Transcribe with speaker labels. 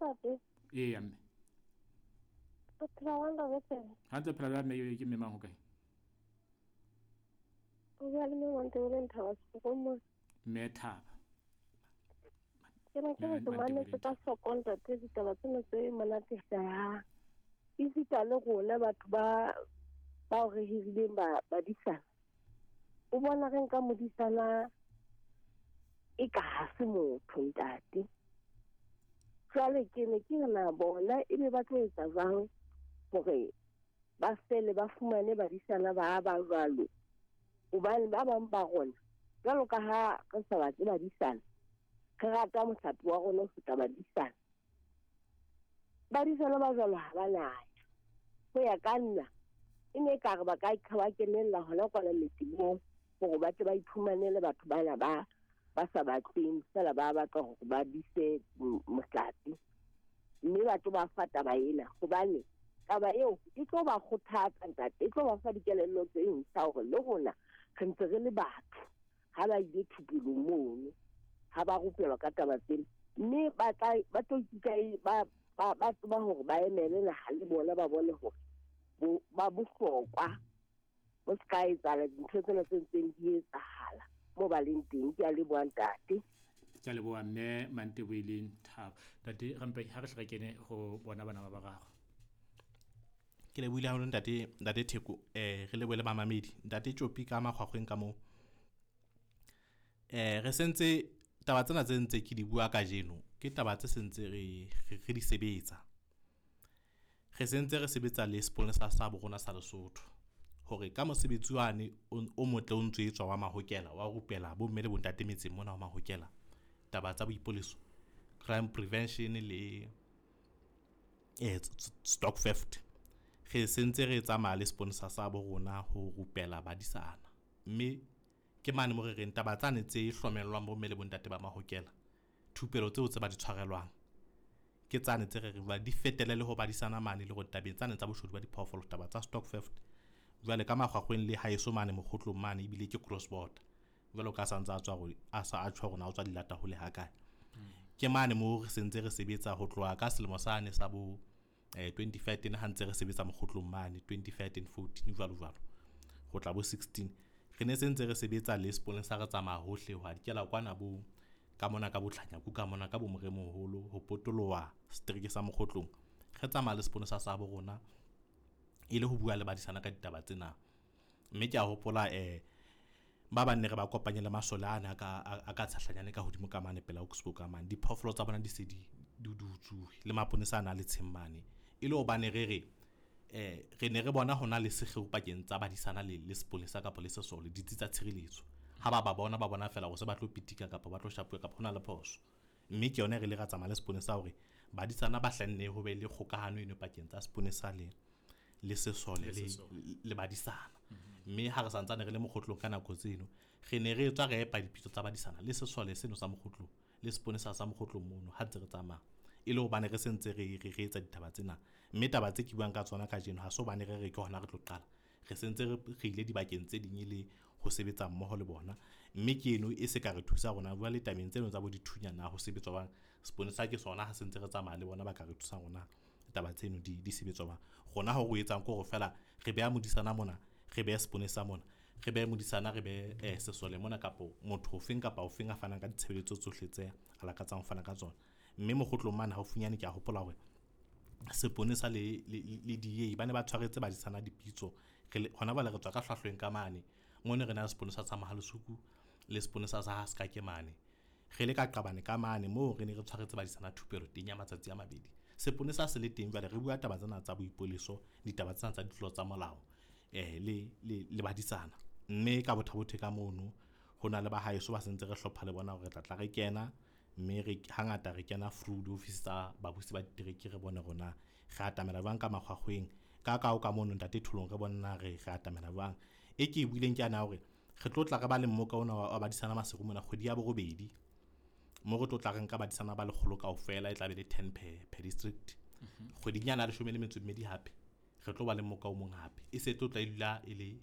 Speaker 1: Ntate.
Speaker 2: Ee mme.
Speaker 1: O phela jwang ntate?
Speaker 2: Hantle phela jwang mme ke mme mang ho kae?
Speaker 1: O bua le mme Mantebeleng Thaba Sefokomong.
Speaker 2: Mme Thaba.
Speaker 1: Ke ne ke re ke mametse ka hloko ntate ditaba tsena tse monate hlahang. Esita le rona batho ba bao re hirileng ba badisana. O bona re nka modisana e ka ha se motho ntate. Jwale ke ne ke re na bona ebe ba tlo etsa jwang hore ba fele ba fumane badisana ba ba jwalo. Hobane ba bang ba rona jwalo ka ha re sa batle badisana, re rata mohlape wa rona ho feta badisana. Badisana ba jwalo ha ba naya. Ho ya ka nna, e ne ekare ba ka ba kenella hona kwana metseng hore ba tle ba iphumanele batho bana ba ba sa batleng feela ba batla hore ba dise mohlape. Mme ba tlo ba fa taba ena hobane taba eo e tlo ba kgothatsa ntate, e tlo ba fa dikelello tse ntjha hore le rona re ntse re le batho. Ha ba ile thupelong mono, ha ba rupelwa ka taba tsena, mme ba tla ba tlo ikutlwa ba ba tseba hore ba emele naha le bona ba bone hore ba bohlokwa. Ho se ka etsahala dintho tsena tse ntseng di etsahala moo ba leng teng. Ke a leboha ntate.
Speaker 2: Ke a leboha mme Manteboeleng Thabo. Ntate Rampe, ha re hle re kene ho bona bana ba bararo.
Speaker 3: Ke lebohile haholo ntate, ntate Theko. Re lebohe le bamamedi. Ntate Tjopi ka makgwakgweng ka moo. Re sentse taba tsena tse ntse ke di bua kajeno, ke taba tse sentse re re di sebetsa. Re sentse re sebetsa le seponesa sa borona sa Lesotho hore ka mosebetsi wane o motle o ntso etswa wa mahokela wa rupela bomme le bontate metseng mona wa mahokela taba tsa boipoleso, crime prevention le stock theft. Re sentse re tsamaya le seponesa sa borona ho rupela badisana, mme ke mane mo re reng taba tsane tse hlomellwang bomme le bontate ba mahokela, thupelo tseo tse ba di tshwarelwang ke tsane tse re reng di fetele le ho badisana mane le hore tabeng tsane tsa boshodu ba diphoofolo, taba tsa stock theft. Jwale ka makgwakgweng le haeso mane mokgotlong mane ebile ke cross border, jwalo ka sa ntse a tswa hore a sa a tjho hore na o tswa dilata hole ha kae. Ke mane mo re sentse re sebetsa ho tloha ka selemo sane sa bo 2013 ha ntse re sebetsa mokgotlong mane 2013 14 jwalo jwalo ho tla bo 16. Re ne sentse re sebetsa le seponesa, re tsamaya hohle ho dikela kwana bo ka mona ka botlhanyaku ka mona ka bo moremoholo ho potoloha setereke sa mokgotlong. Re tsamaya le seponesa sa bo rona e le ho bua le badisana ka ditaba tsena. Mme ke a hopola ba bang ne re ba kopanye le masole ana a ka tshahlanyane ka hodimo ka mane pela Oxbow ka mane. Diphoofolo tsa bona di se di utsuwe le maponesa ana le tsheng mane. E le hobane re re re ne re bona hona le sekgeo pakeng tsa badisana le sepolesa kapa le sesole, ditsi tsa tshireletso. Ha ba ba bona, ba bona fela hore se ba tlo pitika kapa ba tlo shapuwa kapa hona le phoso. Mme ke yona re le ra tsamaya le seponesa hore badisana ba hlanne ho be le kgokahano eno pakeng tsa seponesa le sesole le badisana. Mme ha re santsane re le mokgotlong ka nako tseno, re ne re tswa re epa dipitso tsa badisana le sesole seno sa mokgotlong le seponesa sa mokgotlong mono ha ntse re tsamaya. E le hobane re sentse re re etsa ditaba tsena. Mme taba tse ke buang ka tsona kajeno ha se hobane re re ke hona re tlo qala. Re sentse re ile dibakeng tse ding le ho sebetsa mmoho le bona. Mme ke eno e se ka re thusa rona jwale tabeng tseno tsa bo dithunya na ho sebetswa bang. Seponesa ke sona ha sentse re tsamaya le bona ba ka re thusa rona taba tseno di sebetswa bang. Rona ho re etsang ke hore fela re beha modisana mona, re behe seponesa mona, re behe modisana, re behe sesole mona kapo motho ofeng kapa ofeng a fanang ka ditshebeletso tsohle tse a lakatsang ho fana ka tsona. Mme mokgotlong mane haufinyane ke a hopola hore seponesa le DA ba ne ba tshwaretse badisana dipitso. Hona jwale re tswa ka hlwahlweng ka mane mono re na le seponesa sa Mohalesuku le seponesa sa Haskake mane. Re le ka qabane ka mane moo re ne re tshwaretse badisana thupelo teng ya matsatsi a mabedi. Seponesa se le teng jwale re bua taba tsena tsa boipoleso, ditaba tsena tsa ditlolo tsa molao le badisana. Mme ka bothabothe ka mono ho na le ba haeso ba sentse re hlopha le bona hore re tla tla re kena, mme re hangata re kena through diofisi tsa babusi ba ditereke re bone rona re atamela jwang ka makgwakgweng. Ka ka mono ntate Tholong re bona re atamela jwang. E ke e buileng ke ana hore re tlo tla re ba le mmoka ona wa badisana Maseru mona kgwedi ya borobedi. Mo re tlo tla re nka badisana ba lekgolo kaofela, e tla be le 10 per district. Kgweding yana ya 12 hape re tlo ba le mmoka o mong hape. E se tlo tla e dula e le